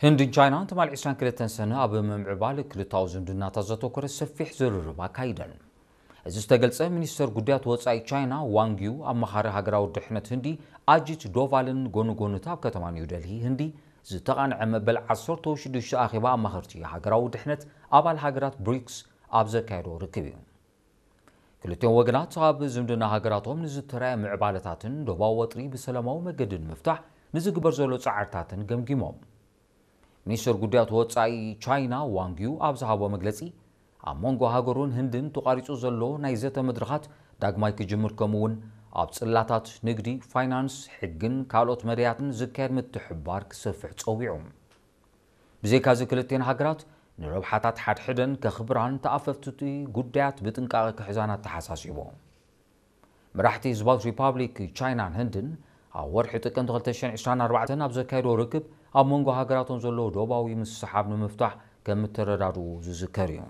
ህንድን ቻይናን ትማሊ ዕስራን ክልተን ሰነ ኣብ ምምዕባል ክልታዊ ዝምድናታት ዘተኮረ ሰፊሕ ዝርርብ ኣካይደን። እዚ ዝተገልጸ፣ ሚኒስተር ጉዳያት ወጻኢ ቻይና ዋንግ ዩ፣ ኣማኻሪ ሃገራዊ ድሕነት ህንዲ ኣጂት ዶቫልን ጎኒ ጎኒ ኣብ ከተማ ኒው ደልሂ ህንዲ ዝተቓንዐ መበል ዓሰርተ ሽዱሽተ ኣኼባ ኣማኸርቲ ሃገራዊ ድሕነት ኣባል ሃገራት ብሪክስ ኣብ ዘካየዶ ርክብ እዩ። ክልቲኦም ወገናት ኣብ ዝምድና ሃገራቶም ንዝተራየ ምዕባለታትን ዶባዊ ወጥሪ ብሰላማዊ መገዲ ንምፍታሕ ንዝግበር ዘሎ ጻዕርታትን ገምጊሞም። ሚኒስትር ጉዳያት ወጻኢ ቻይና ዋንግ ዩ ኣብ ዝሃቦ መግለጺ፣ ኣብ መንጎ ሃገሩን ህንድን ተቋሪጹ ዘሎ ናይ ዘተ መድረኻት ዳግማይ ክጅምር፣ ከምኡ እውን ኣብ ጽላታት ንግዲ፣ ፋይናንስ፣ ሕግን ካልኦት መዳያትን ዝካየድ ምትሕብባር ክሰፍሕ ጸዊዑ። ብዘይካዚ ክልቲኤን ሃገራት ንረብሓታት ሓድሕደን ከኽብራን ተኣፈፍቲ ጉዳያት ብጥንቃቐ ክሕዛን ኣተሓሳሲቡ። መራሕቲ ህዝባዊት ሪፓብሊክ ቻይናን ህንድን ኣብ ወርሒ ጥቅምቲ ክልተ ሽሕን ዕስራን ኣርባዕተን ኣብ ዘካየድዎ ርክብ ኣብ መንጎ ሃገራቶም ዘሎ ዶባዊ ምስሓብ ንምፍታሕ ከም እተረዳድኡ ዝዝከር እዩ።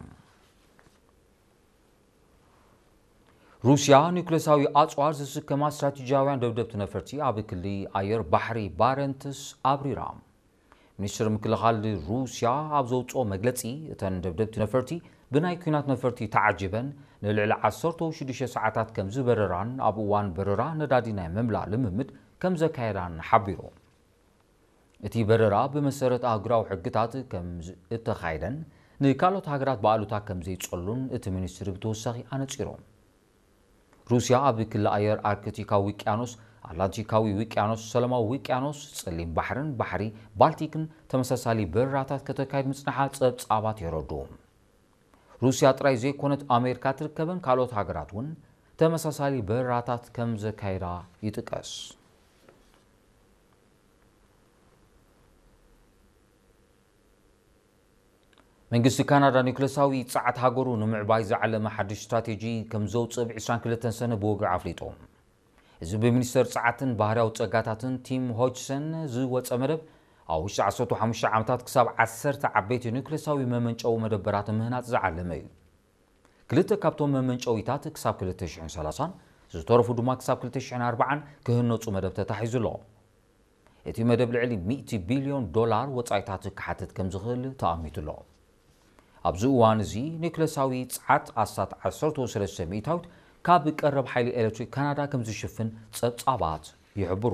ሩስያ ኒውክለሳዊ ኣጽዋር ዝስከማ ስትራቴጂያውያን ደብደብቲ ነፈርቲ ኣብ ክሊ ኣየር ባሕሪ ባረንትስ ኣብሪራ። ሚኒስትር ምክልኻል ሩስያ ኣብ ዘውፅኦ መግለፂ፣ እተን ደብደብቲ ነፈርቲ ብናይ ኲናት ነፈርቲ ተዓጂበን ንልዕሊ ዓሰርተ ሽዱሽተ ሰዓታት ከም ዝበረራን ኣብ እዋን በረራ ነዳዲ ናይ ምምላእ ልምምድ ከም ዘካየዳን ሓቢሩ። እቲ በረራ ብመሰረት ኣህጉራዊ ሕግታት ከም እተኻየደን ንካልኦት ሃገራት ብኣሉታ ከም ዘይጸሉን እቲ ሚኒስትሪ ብተወሳኺ ኣነጺሩ። ሩስያ ኣብ ክሊ ኣየር ኣርክቲካዊ ውቅያኖስ፣ ኣትላንቲካዊ ውቅያኖስ፣ ሰላማዊ ውቅያኖስ፣ ጸሊም ባሕርን ባሕሪ ባልቲክን ተመሳሳሊ በረራታት ከተካይድ ምጽንሓ ጸብጻባት የረድኡ። ሩስያ ጥራይ ዘይኮነት ኣሜሪካ ትርከበን ካልኦት ሃገራት እውን ተመሳሳሊ በረራታት ከም ዘካይዳ ይጥቀስ። መንግስቲ ካናዳ ኒውክለሳዊ ጸዓት ሃገሩ ንምዕባይ ዝዓለመ ሓድሽ ስትራቴጂ ከም ዘውጽእ ብ ዕስራን ክልተን ሰነ ብወግዒ ኣፍሊጡ። እዚ ብሚኒስተር ጸዓትን ባህርያዊ ጸጋታትን ቲም ሆጅሰን ዝወጸ መደብ፣ ኣብ ውሽጢ ዓሰርተ ሓሙሽተ ዓመታት ክሳብ ዓሰርተ ዓበይቲ ኒውክለሳዊ መመንጨዊ መደበራት ምህናጽ ዝዓለመ እዩ። ክልተ ካብቶም መመንጨዊታት ክሳብ ክልተ ሽሕን ሰላሳን፣ ዝተረፉ ድማ ክሳብ ክልተ ሽሕን ኣርባዓን ክህነጹ መደብ ተታሒዙ ኣሎ። እቲ መደብ ልዕሊ ሚእቲ ቢልዮን ዶላር ወጻኢታት ክሓትት ከም ዝኽእል ተኣሚቱ ኣሎ። ኣብዚ እዋን እዚ ኒውክለሳዊ ጸዓት ኣስታት ዓሰርተ ሰለስተ ሚእታዊት ካብ ቀረብ ሓይሊ ኤሌክትሪክ ካናዳ ከም ዝሽፍን ጸብጻባት ይሕብሩ።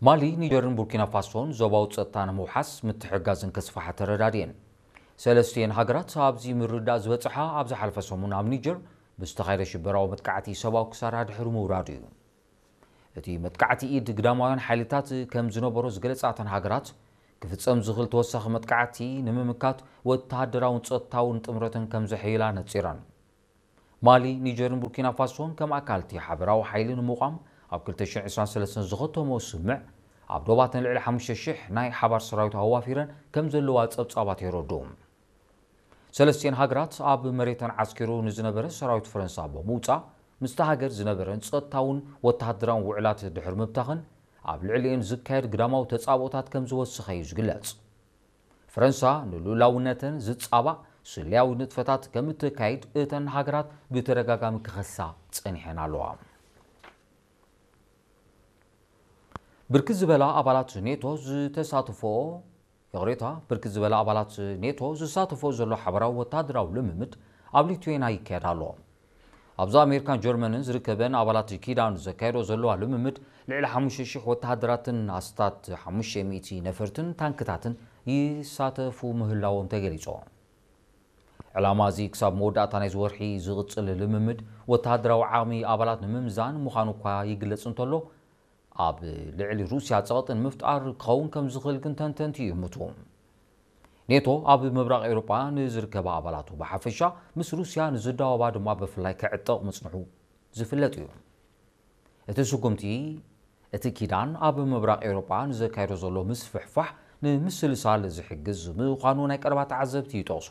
ማሊ፣ ኒጀርን ቡርኪና ፋሶን ዞባዊ ጸጥታ ንምውሓስ ምትሕግጋዝን ከስፍሓ ተረዳድየን። ሰለስቲኤን ሃገራት ኣብዚ ምርዳእ ዝበጽሓ ኣብ ዝሓለፈ ሰሙን ኣብ ኒጀር ብዝተኻየደ ሽበራዊ መጥቃዕቲ ሰብኣዊ ክሳራ ድሕሪ ምውራዱ እዩ። እቲ መጥቃዕቲ ኢድ ግዳማውያን ሓይልታት ከም ዝነበሮ ዝገለጻ እተን ሃገራት፣ ክፍጸም ዝኽእል ተወሳኺ መጥቃዕቲ ንምምካት ወተሃደራውን ጸጥታውን ጥምረተን ከም ዘሐይላ ነጺረን። ማሊ፣ ኒጀርን ቡርኪና ፋሶን ከም ኣካል እቲ ሓበራዊ ሓይሊ ንምቋም ኣብ ክልተ ሽሕን ዕስራን ሰለስተን ዝኸተሞ ስምምዕ፣ ኣብ ዶባተን ልዕሊ ሓሙሽተ ሽሕ ናይ ሓባር ሰራዊት ኣዋፊረን ከም ዘለዋ ጸብጻባት የረድኡ። ሰለስቲኤን ሃገራት ኣብ መሬተን ዓስኪሩ ንዝነበረ ሰራዊት ፈረንሳ ብምውጻእ፣ ምስታ ሃገር ዝነበረን ጸጥታውን ወተሃደራውን ውዕላት ድሕሪ ምብታኸን፣ ኣብ ልዕሊኤን ዝካየድ ግዳማዊ ተጻብኦታት ከም ዝወሰኸ እዩ ዝግለጽ። ፈረንሳ ንልኡላውነተን ዝጻባእ ስለያዊ ንጥፈታት ከም እተካይድ እተን ሃገራት ብተደጋጋሚ ክኸሳ ጸኒሐን ኣለዋ። ብርክት ዝበላ ኣባላት ኔቶ ዝተሳተፎ፣ ይቕሬታ፣ ብርክት ዝበላ ኣባላት ኔቶ ዝሳተፎ ዘሎ ሓበራዊ ወታደራዊ ልምምድ ኣብ ሊቱዌና ይካየድ ኣሎ። ኣብዚ ኣሜሪካን ጀርመንን ዝርከበን ኣባላት ኪዳን ዘካየዶ ዘለዋ ልምምድ፣ ልዕሊ ሓሙሽተ ሽሕ ወተሃደራትን ኣስታት ሓሙሽተ ሚእቲ ነፈርትን ታንክታትን ይሳተፉ ምህላዎም ተገሊጹ። ዕላማ እዚ ክሳብ መወዳእታ ናይዚ ወርሒ ዝቕጽል ልምምድ ወተሃደራዊ ዓቕሚ ኣባላት ንምምዛን ምዃኑ እኳ ይግለጽ እንተሎ፣ ኣብ ልዕሊ ሩስያ ጸቕጢ ንምፍጣር ክኸውን ከም ዝኽእል ግን ተንተንቲ ይእምቱ። ኔቶ ኣብ ምብራቕ ኤውሮጳ ንዝርከባ ኣባላቱ ብሓፈሻ፣ ምስ ሩስያ ንዝዳወባ ድማ ብፍላይ ክዕጠቕ ምጽንሑ ዝፍለጥ እዩ። እቲ ስጉምቲ፣ እቲ ኪዳን ኣብ ምብራቕ ኤውሮጳ ንዘካየዶ ዘሎ ምስፍሕፋሕ ንምስልሳል ዝሕግዝ ምዃኑ ናይ ቀረባ ተዓዘብቲ ይጠቕሱ።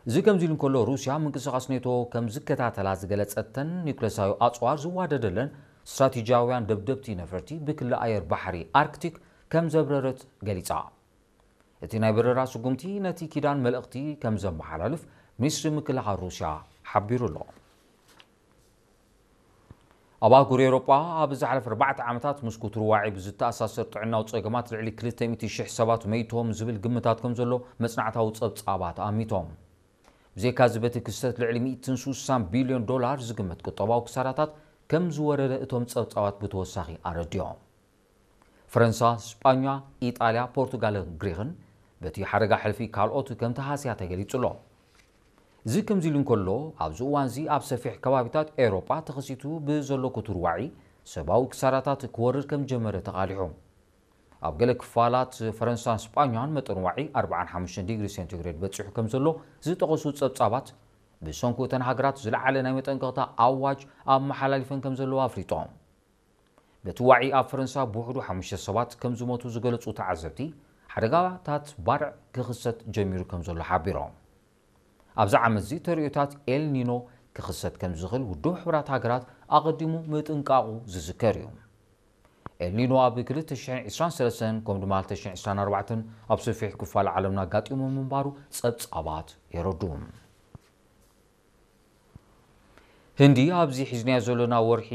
እዚ ከምዚ ኢሉ እንከሎ፣ ሩስያ ምንቅስቓስ ኔቶ ከም ዝከታተላ ዝገለጸተን ኒውክለሳዊ ኣጽዋር ዝዋደደለን ስትራቴጂያውያን ደብደብቲ ነፈርቲ ብክሊ ኣየር ባሕሪ ኣርክቲክ ከም ዘብረረት ገሊጻ። እቲ ናይ በረራ ስጉምቲ ነቲ ኪዳን መልእኽቲ ከም ዘመሓላልፍ ሚኒስትሪ ምክልኻል ሩስያ ሓቢሩ ኣሎ። ኣብ ኣህጉር ኤውሮጳ ኣብ ዝሓለፈ ኣርባዕተ ዓመታት ምስ ኩቱር ዋዒ ብዝተኣሳሰር ጥዕናዊ ጸገማት ልዕሊ ክልተ ሚእቲ ሽሕ ሰባት መይቶም ዝብል ግምታት ከም ዘሎ መጽናዕታዊ ጸብጻባት ኣሚቶም። ብዘይካዚ በቲ ክስተት ልዕሊ ሚእትን ሱሳን ቢልዮን ዶላር ዝግመት ቁጠባዊ ክሳራታት ከም ዝወረደ እቶም ጸብጻባት ብተወሳኺ ኣረዲኦም። ፈረንሳ፣ ስጳኛ፣ ኢጣልያ፣ ፖርቱጋልን ግሪኽን በቲ ሓደጋ ሕልፊ ካልኦት ከም ተሃስያ ተገሊጹ ኣሎ። እዚ ከምዚ ኢሉ እንከሎ፣ ኣብዚ እዋንዚ ኣብ ሰፊሕ ከባቢታት ኤውሮጳ ተኸሲቱ ብዘሎ ክቱር ዋዒ ሰብኣዊ ክሳራታት ክወርድ ከም ጀመረ ተቓሊሑ። ኣብ ገለ ክፋላት ፈረንሳን ስጳኛን መጠን ዋዒ ኣርብዓን ሓሙሽተን ዲግሪ ሴንቲግሬድ በጺሑ ከም ዘሎ ዝጠቐሱ ጸብጻባት፣ ብሰንኩ እተን ሃገራት ዝለዓለ ናይ መጠንቀቕታ ኣዋጅ ኣመሓላሊፈን ከም ዘለዋ ኣፍሊጦም። በቲ ዋዒ ኣብ ፈረንሳ ብውሕዱ ሓሙሽተ ሰባት ከም ዝሞቱ ዝገለጹ ተዓዘብቲ፣ ሓደጋታት ባርዕ ክኽሰት ጀሚሩ ከም ዘሎ ሓቢሮም። ኣብዚ ዓመትዚ ተርእዮታት ኤል ኒኖ ክኽሰት ከም ዝኽእል ውድብ ሕቡራት ሃገራት ኣቐዲሙ ምጥንቃቑ ዝዝከር እዩ። ኤል ኒኖ ኣብ ክልተ ሽሕን ዕስራን ሰለስተን ከምኡ ድማ ክልተ ሽሕን ዕስራን ኣርባዕተን ኣብ ሰፊሕ ክፋል ዓለምና ኣጋጢሙ ምንባሩ ጸብጻባት የረድኡ። ህንዲ ኣብዚ ሒዝናዮ ዘለና ወርሒ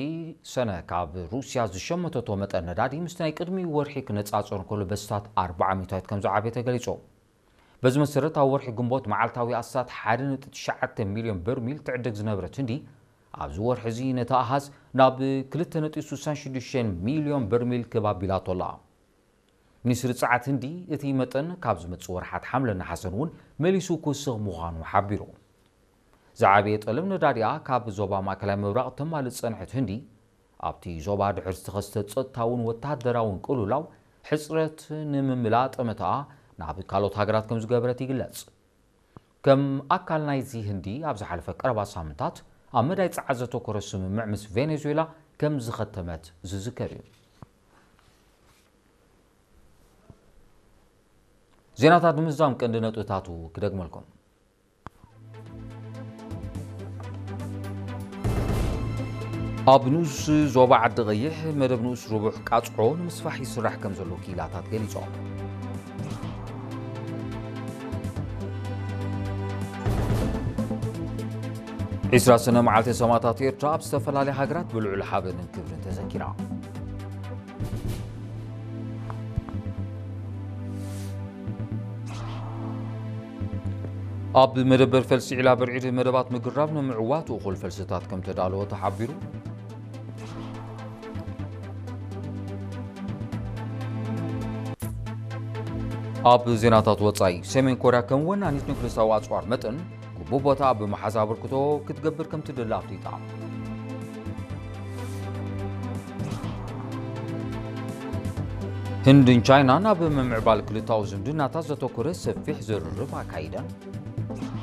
ሰነ ካብ ሩስያ ዝሸመተቶ መጠን ነዳዲ ምስቲ ናይ ቅድሚ ወርሒ ክነጻጸር እንከሎ በስታት ኣርባዓ ሚእታዊት ከም ዝዓበየ ተገሊጹ። በዚ መሰረት ኣብ ወርሒ ግንቦት መዓልታዊ ኣስታት ሓደ ነጥቢ ትሽዓተ ሚልዮን በርሚል ትዕደግ ዝነበረት ህንዲ ኣብዚ ወርሒ እዚ ነቲ ኣሃዝ ናብ ክልተ ነጥቢ ስሳን ሽዱሽተን ሚልዮን በርሚል ክብ ኣቢላቶ ኣላ። ሚኒስትሪ ጸዓት ህንዲ እቲ መጠን ካብ ዝመጽእ ወርሓት ሓምለን ነሓሰን እውን መሊሱ ክውስኽ ምዃኑ ሓቢሩ። ዝዓበየ ጠለብ ነዳዲኣ ካብ ዞባ ማእከላይ ምብራቕ ተማልእ ዝጸንሐት ህንዲ፣ ኣብቲ ዞባ ድሕሪ ዝተኸስተ ጸጥታውን ወተሃደራውን ቅልውላው ሕጽረት ንምምላእ ጠመተኣ ናብ ካልኦት ሃገራት ከም ዝገበረት ይግለጽ። ከም ኣካል ናይዚ ህንዲ ኣብ ዝሓለፈ ቀረባ ሳምንታት ኣብ መዳይ ጸዓት ዘተኮረ ስምምዕ ምስ ቬኔዙዌላ ከም ዝኸተመት ዝዝከር እዩ። ዜናታት ንምዝዛም ቀንዲ ነጥብታቱ ክደግመልኩም። ኣብ ንኡስ ዞባ ዓዲ ቀይሕ መደብ ንኡስ ርቡሕ ቃጽዖ ንምስፋሕ ይስራሕ ከም ዘሎ ክኢላታት ገሊጾም። ዕስራ ሰነ መዓልቲ ሰማእታት ኤርትራ ኣብ ዝተፈላለያ ሃገራት ብልዑል ሓበንን ክብርን ተዘኪራ። ኣብ መደበር ፈልሲ ዒላ ብርዒድ መደባት ምግራብ ንምዕዋት እኹል ፈልስታት ከም ተዳለወ ተሓቢሩ። ኣብ ዜናታት ወጻኢ፣ ሰሜን ኮርያ ከም ወናኒት ኒውክሌሳዊ ኣጽዋር መጠን ግቡእ ቦታ ኣብ ምሓዝ ኣበርክቶ ክትገብር ከም ትደሊ ኣፍሊጣ። ህንድን ቻይናን ኣብ ምምዕባል ክልታዊ ዝምድናታት ዘተኮረ ሰፊሕ ዝርርብ ኣካይደን።